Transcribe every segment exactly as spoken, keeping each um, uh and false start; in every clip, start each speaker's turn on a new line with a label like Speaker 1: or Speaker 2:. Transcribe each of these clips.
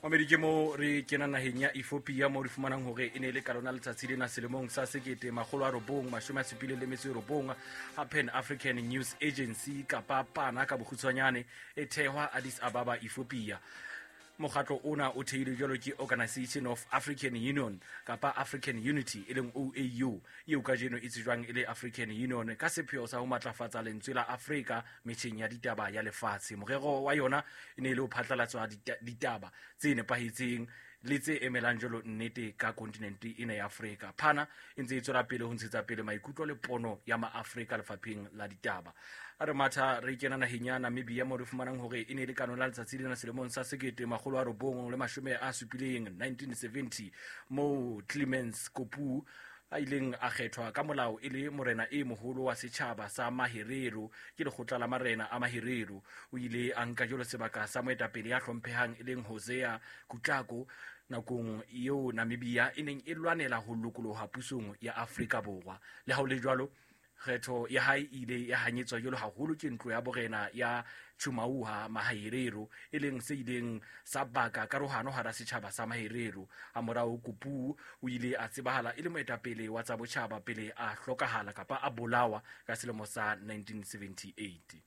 Speaker 1: Mamedi ke mo re kena naheng ya Ethiopia mo re fumanang hore e ne le ka lona letsatsi lena selemong sa sekete makgolo a robong mashome a supileng le metso e robong ha Pan African News Agency kapa PANA ka bokgutshwanyane e thehwa Addis Ababa, Ethiopia. Mokgatlo ona o theilwe jwalo ke Organization of African Union kapa African Unity e leng O A U eo kajeno e tsejwang e le African Union ka sepheo sa ho matlafatsa lentswe la Afrika metjheng ya ditaba ya lefatshe. Morero wa yona e ne e le ho phatlalatswa ditaba tse nepahetseng le tse emelang jwalo nnete ka kontinente ena ya Afrika. PANA e ntse e tswela pele ho ntshetsa pele maikutlo le pono ya maAfrika lefapheng la ditaba. A re matha re kena naheng ya Namibia mo re fumanang hore e ne e le ka lona letsatsi lena selemong sa sekete makgolo a robong le mashome a supileng nineteen seventy moo Clemens Kopu a ileng a kgethwa ka molao e le morena e moholo wa setjhaba sa Maherero ke lekgotla la marena a Maherero. O ile a nka jwalo sebaka sa moetapele ya hlomphehang e leng Hosea Kutako nakong eo Namibia e neng e lwanela ho lokoloha pusong ya Afrika Borwa. Le ha ho le jwalo, kgetho ya hae e ile ya hanyetswa jwalo haholo ke ntlo ya borena ya Tjumauha Maherero e leng se ileng sa baka karohano hara setjhaba sa Maherero. Hamorao Kopu o ile a tsebahala e le moetapele wa tsa botjhaba pele a hlokahala kapa a bolawa ka selemo sa nineteen seventy-eight.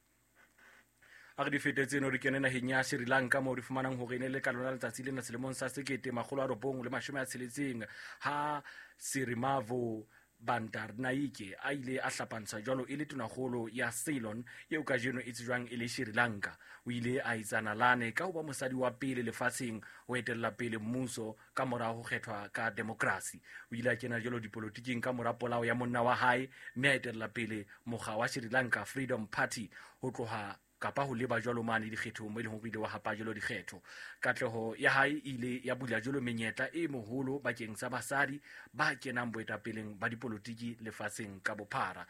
Speaker 1: A re di fete tseno re kene naheng ya Sri Lanka moo re fumanang hore e ne le ka lona letsatsi lena selemong sa sekete makgolo a robong le mashome a tsheletseng ha Sirimavo Bandaranaike a ile a hlapantsha jwalo e le tonakgolo ya Ceylon eo kajeno e tsejwang e le Sri Lanka. O ile a etsa nalane ka ho ba mosadi wa pele lefatsheng ho etella pele mmuso ka mora ho kgethwa ka demokrasi. O ile a kena jwalo dipolotiking ka mora polao ya monna wa hae mme a etella pele mokga wa Sri Lanka Freedom Party ho tloha kapa ho leba jwalo mane dikgethong mo e leng hore ile wa hapa jwalo dikgetho. Katleho ya hae e ile ya bula jwalo menyetla e moholo bakeng sa basadi ba kenang boetapeleng ba dipolotiki lefatsheng ka bophara.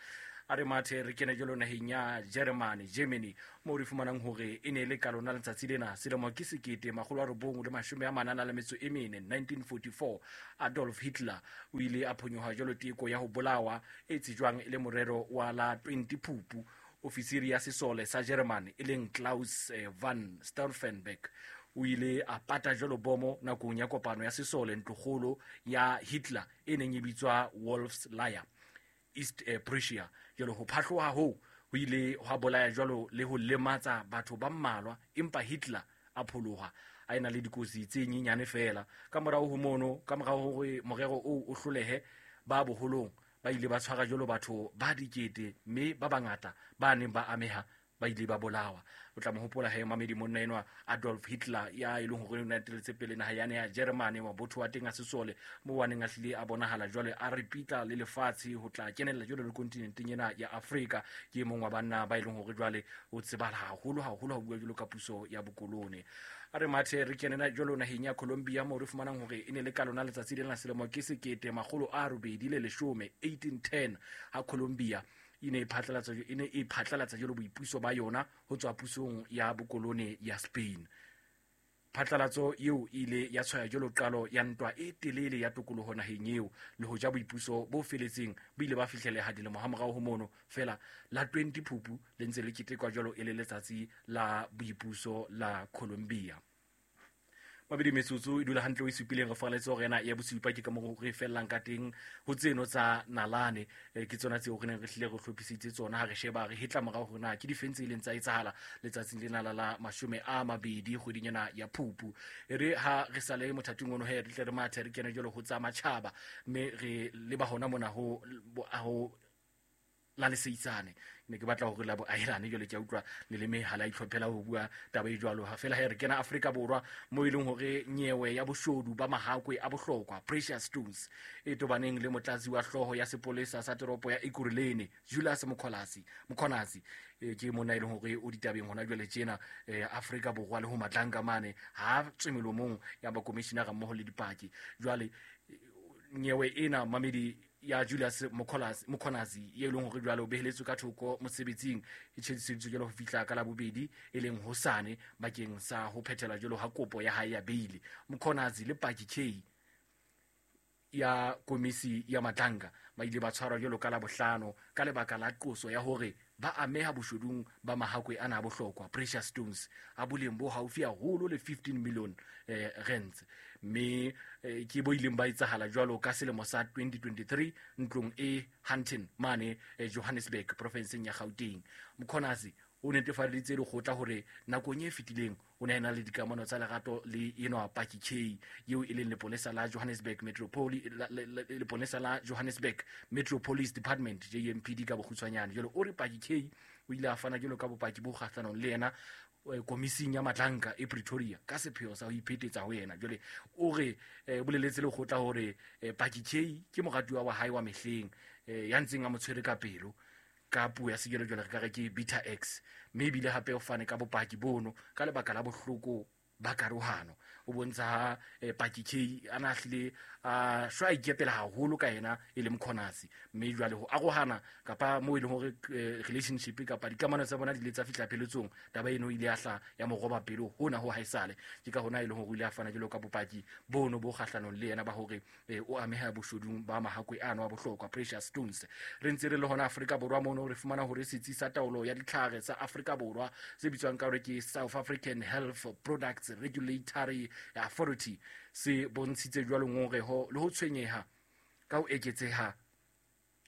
Speaker 1: A re mathe re kene jwalo naheng ya Germany, Germany moo re fumanang hore e ne le ka lona letsatsi lena selemo ke sekete makgolo a robong le mashome a manana le metso e mene nineteen forty-four Adolf Hitler o ile a phonyoha jwalo teko ya ho bolawa e tsejwang e le morero wa la twenty Phupu. Ofisiri ya sesole sa Germany e leng Klaus van Stauffenberg o ile a pata jwalo bomo nakong ya kopano ya sesole ntlokgolo ya Hitler e neng e bitswa Wolf's Lair, East Prussia. Jwalo ho phahloha hoo ho ile hwa bolaya jwalo le ho lematsa batho ba mmalwa, empa Hitler a pholoha a ena le dikotsi tse nyenyane feela. Ka morao ho mono, ka morao hore morero oo o hlolehe, ba boholong ba ile ba tshwara jwalo batho ba dikete mme ba bangata ba neng ba ameha ba ile ba bolawa. O tla mo hopola he mamedi monna enwa Adolf Hitler ya e leng hore o ne a eteletse pele naha yane ya Germany, mabotho wa teng a sesole moo a neng a hlile a bonahala jwale a ripitla le lefatshe ho tla kenella jwale le kontinenteng ena ya Afrika. Ke e mong wa banna ba e leng hore jwale o tsebahala haholo haholo ha bua jwalo ka puso ya bokolone. A re mathe re kenena jwalo naheng ya Colombia moo re fumanang hore e ne le ka lona letsatsi lena selemo ke sekete makgolo a robedi le leshome eighteen ten ha Colombia e ne e phatlalatsa e ne e phatlalatsa jwalo boipuso ba yona ho tswa pusong ya bokolone ya Spain. Phatlalatso eo e ile ya tshwaya jwalo qalo ya ntwa e telele ya tokoloho naheng eo, le hoja boipuso bo feletseng bo ile ba fihleleha dilemo hamorao ho mono. Feela la twenty Phupu le ntse le ketekwa jwalo e le letsatsi la boipuso la Colombia. Mabedi metsotso e dula hantle o e supileng re faraletse hore ena ya bosupa ke ka moo re fellang ka teng ho tseno tsa nalane. Ke tsona tseo re neng re hlile re hlophisitse tsona ha re sheba re hetla morao hore na ke difeng tse ileng tsa etsahala letsatsing lena la la mashome a mabedi kgweding ena ya Phupu. E re ha re sale mothating ono he re tle re mathe re kene jwalo ho tsa matjhaba mme re leba hona mona ho ho la leseitsane. Ne ke batla hore la bo ahelane jwale ke a utlwa leleme ha la itlhophela ho bua taba e jwalo. Ha fela he re kena Afrika Borwa mo e leng hore nyewe ya boshodu ba mahakwe a bohlokwa Precious Stones e tobaneng le motlatsi wa hlooho ya sepolesa sa toropo ya Ekurhuleni Julius Mokholasi Mkhwanazi ke monna e leng hore o ditabeng hona jwale tjena Afrika Borwa le ho Matlanka mane ha tswe melomong ya ba commissioner mmoho le dipaki. Jwale nyewe ena mamedi ya Julius Mokholasi Mkhwanazi e leng hore jwale o beheletswe ka thoko mosebetsing e tjhediseditswe jwalo ho fihla ka la bobedi e leng hosane bakeng sa ho phethela jwalo ha kopo ya hae ya beile. Mkhwanazi le Paki K ya komisi ya Matlanka ba ile ba tshwarwa jwalo ka la bohlano ka lebaka la qoso ya hore ba ameha boshodung ba mahakwe ana a bohlokwa precious stones a boleng bo haufi haholo le fifteen million eh, rands. Mme eh, ke bo ileng ba etsahala jwalo ka selemo sa twenty twenty-three ntlong e Hunton mane eh, Johannesburg provinseng ya Gauteng. Mkhwanazi o netefaditse lekgotla hore nakong e fetileng o ne a na le dikamano tsa lerato le enwa Paki K eo e leng leponesa la Johannesburg Metropoli leponesa la Johannesburg Metro Police Department J M P D ka bokgutshwanyane. Jwale o re Paki K o ile a fana jwalo ka bopaki bo kgahlanong le yena komising ya Matlanka e Pretoria ka sepheo sa ho iphetetsa ho yena. Jwale o re boleletse lekgotla hore Paki K ke moratuwa wa hae wa mehleng ya ntseng a mo tshwere ka pelo ka puo ya sejwalejwale re ka re ke Beta X, mme ebile hape o fane ka bopaki bono ka lebaka la bohloko ba karohano. O bontsha ha Paki K a na hlile a shwa ikepela haholo ka yena e le Mkhwanazi, mme jwale ho arohana kapa moo e leng hore relationship kapa dikamano tsa bona di ile tsa fihla pheletsong, taba eno ile ya hla ya mo roba pelo hona ho haesale. Ke ka hona e leng hore o ile a fana jwalo ka bopaki bono bo kgahlanong le yena ba hore o ameha boshodung ba mahakwe ano a bohlokwa precious stones. Re ntse re le hona Afrika Borwa mono re fumana hore setsi sa taolo ya ditlhare tsa Afrika Borwa se bitswang ka hore ke South African Health Products Regulatory Authority se bontshitse jwalo ngongeho le ho tshwenyeha ka ho eketseha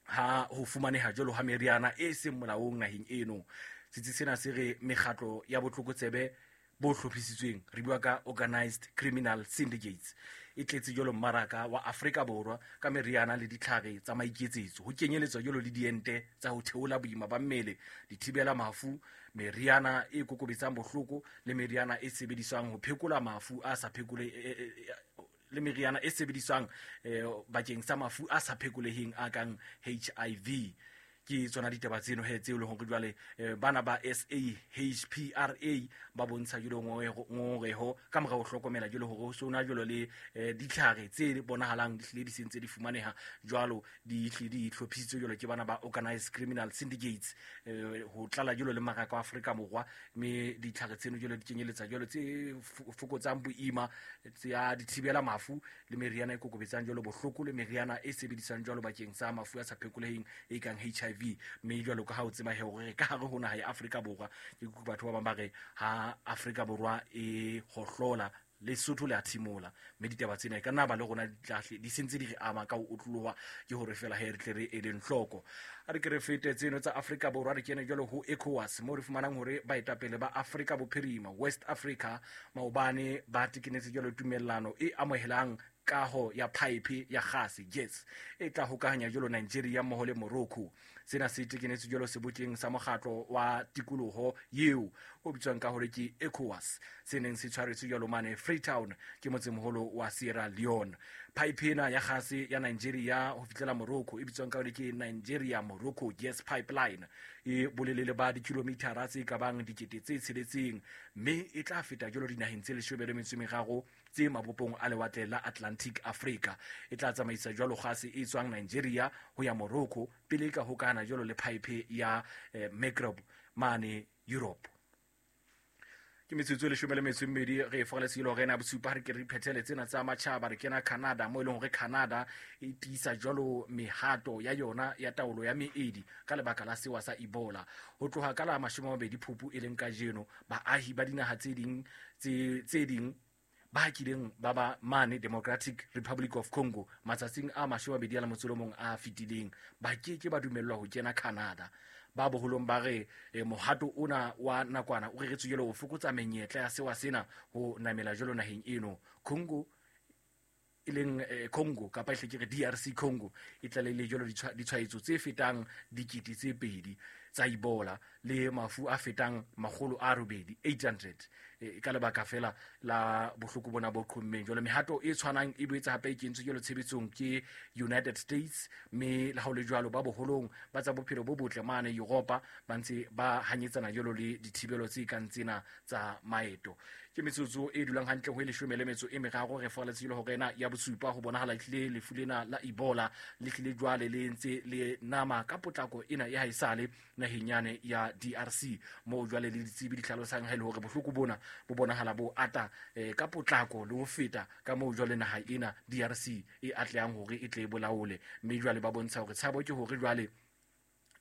Speaker 1: ha ho fumaneha jwalo ha meriana e seng molaong naheng eno. Setsi sena se re mekgatlo ya botlokotsebe bo hlophisitsweng, re bua ka organized criminal syndicates, e tletse jwalo mmaraka wa Afrika Borwa ka meriana le ditlhare tsa maiketsetso, ho kenyeletswa jwalo le diente tsa ho theola boima ba mmele, dithibela mafu, meriana e kokobetsang bohloko le meriana e sebediswang ho phekola mafu a sa phekole le meriana e sebediswang bakeng sa mafu a sa phekoleheng a kang H I V. Ke tsona ditaba tseno he tseo le hore jwale bana ba S A H P R A ba bontsha jwalo ngongoreho ka mora ho hlokomela jwalo hore ho sona jwalo le ditlhare tse bonahalang di hlile di sentse di fumaneha jwalo di hlile di hlophisitswe jwalo ke bana ba organized criminal syndicates ho tlala jwalo le maraka wa Afrika Borwa, mme ditlhare tseno jwalo di kenyeletsa jwalo tse fokotsang boima tsa dithibela mafu le meriana e kokobetsang jwalo bohloko le meriana e sebediswang jwalo bakeng sa mafu a sa phekoleheng e kang H I V. Mme jwalo ka ha o tseba hore ka hare ho naha ya Afrika Borwa ke batho ba bang ba re ha Afrika Borwa e hohlola Lesotho le a thimola, mme ditaba tsena e ka nna ba le rona di di sentse di re ama ka ho otloloha, ke hore fela he re tle re eleng hloko. A re ke re fete tseno tsa Afrika Borwa re kene jwalo ho ECOWAS mo re fumanang hore baetapele ba Afrika Bophirima West Africa maobane ba tekenetse jwalo tumellano e amohelang kaho ya pipe ya gase gas e tla hokahanya jwalo Nigeria mmoho le Morocco. Sena se tekenetse jwalo sebokeng sa mokgatlo wa tikoloho eo o bitswang ka hore ke ECOWAS, se neng se tshwaretswe jwalo mane Freetown ke motsemoholo wa Sierra Leone. Pipe ena ya gase ya Nigeria ho fihlela Morocco e bitswang ka hore ke Nigeria Morocco Gas Pipeline e bolelele ba dikilomitara tse ka bang dikete tse tsheletseng, mme e tla feta jwalo dinaheng tse leshome le metso e meraro tse mabopong a lewatle la Atlantic Africa. E tla tsamaisa jwalo gase e tswang Nigeria ho ya Morocco pele ka hokana jwalo le pipe ya eh, Maghreb mane Europe. Ke metsotso e leshome le metso e mmedi re foreletse ile hore na bosupa re ke re phethele tsena tsa matjhaba. Re kena Canada mo e leng hore Canada e tiisa jwalo mehato ya yona ya taolo ya meedi ka lebaka la sewa sa Ebola. Ho tloha ka la mashome a mabedi Phupu e leng kajeno, baahi ba dinaha tse ding tse tse ding ba kileng ba ba mane Democratic Republic of Congo matsatsing a mashome a mabedi a le motso o mong a fetileng ba ke ke ba dumellwa ho kena Canada. Ba boholong ba re eh, mohato ona wa nakwana o reretswe jwalo ho fokotsa menyetla ya sewa sena ho namela jwalo naheng eno. Congo e leng eh, Congo kapa e hle ke re D R C Congo e tlalehile jwalo ditshwaetso tse fetang dikete tse pedi tsa Ebola le mafu a fetang makgolo a robedi eight hundred e ka lebaka fela la bohloko bona bo qhommeng. Jwale mehato e tshwanang e boetse hape e kentswe jwalo tshebetsong ke United States, mme le ha ho le jwalo ba boholong ba tsa bophelo bo botle mane Europa ba ntse ba hanyetsana jwalo le dithibelo tse kang tsena tsa maeto. Ke metsotso e dulang hantle ho e leshome le metso e meraro re foraletse jwalo hore ena ya bosupa ho bonahala ehlile lefu lena la Ebola le hlile jwale le ntse le nama ka potlako ena ya haesale naheng yane ya D R C mo jwale le ditsebi di hlalosang ha ile hore bohloko bona bo bonahala bo ata eh, ka potlako le ho feta ka moo jwale naha ena D R C e atlehang hore e tle e bolaole, mme jwale ba bontsha hore tshabo ke hore jwale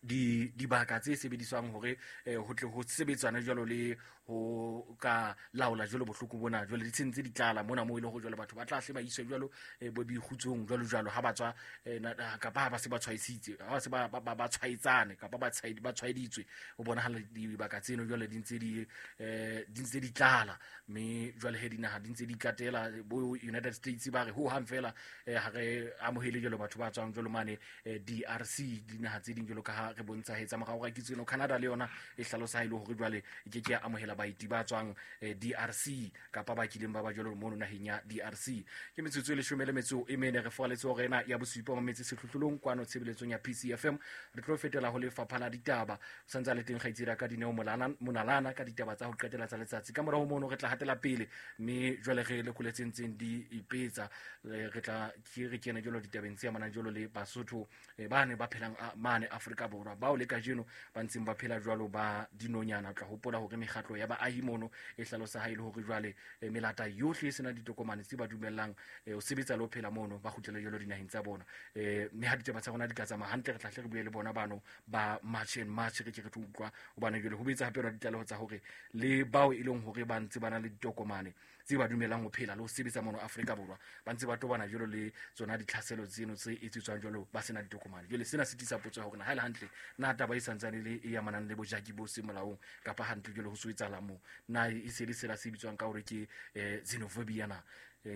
Speaker 1: di dibaka tse sebediswang hore eh, ho tle ho sebetsana jwalo le ho ka laola jwalo bohloko bona jwale di tshentse di tlala mona mo ile ho jwalo batho ba tla hle ba iswe jwalo eh, bo bikgutsong jwalo jwalo ha ba tswa eh, kapa ha ba se ba tshwaisitse ha ba se ba ba tshwaetsane kapa ba tshwaedi ba tshwaeditswe ho bonahala dibaka tseno jwale di ntse di eh, di ntse di tlala mme jwale he dinaha di ntse di katela bo United States ba re ho hang fela eh, ha re amohele jwalo batho ba tswang jwalo mane eh, D R C dinaha tse ding jwalo ka ha re bontsha hetsa morao ga kitseno Canada le yona e hlalosa ha ile hore jwale e ke ke ya amohela baeti ba tswang eh, D R C kapa ba kileng ba ba jwalo mono naheng ya D R C. Ke metsotso e leshome le metso e mene re foaletse hore ena ya bosupa mo metse sehlohlolong kwano tshebeletsong ya P C F M. Re tlo fetela ho lefapha la ditaba santsa le teng kgaitsedi ka Dineo Molana Monalana ka ditaba tsa ho qetela tsa letsatsi. Ka morao mono re tla hatela pele mme jwale re le koletseng tseng di ipetsa re tla ke re kene jwalo ditabeng tse amanang jwalo le Basotho ba ne ba phelang mane Afrika Borwa bao le kajeno ba ntseng ba phela jwalo ba dinonyana. Tla hopola hore mekgatlo ya baahi mono e hlalosa ha ile hore jwale melata yohle e sena ditokomane tse ba dumellang ho sebetsa le ho phela mono ba kgutlele jwalo dinaheng tsa bona. Mme ha ditaba tsa rona di ka tsamaya hantle re tla hle re bue le bona bano ba March and March re ke re tlo utlwa hobane jwale ho betsa hape rona ditlaleho tsa hore le bao e leng hore ba ntse ba na le ditokomane tse ba dumelang ho phela le ho sebetsa mono Afrika Borwa ba ntse ba tobana jwalo le tsona ditlhaselo tseno tse etsetswang jwalo ba sena ditokomane. Jwale sena se tlisa potso ya hore na ha e le hantle na taba e santsane le e amanang le bojaki bo se molaong kapa hantle jwale ho so etsahala moo na e se le sela se bitswang ka hore ke eh, xenophobia na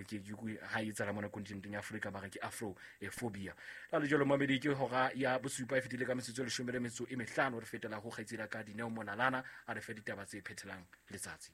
Speaker 1: ke ke ha e tsala mona kontinenteng ya Afrika ba re ke afrophobia. La le jwalo mamedi ke hora ya bosupa e fetile ka metsotso e leshome le metso e mehlano re fetela ho kgaitsedi ka Dineo Monalana a re fe ditaba tse phethelang letsatsi.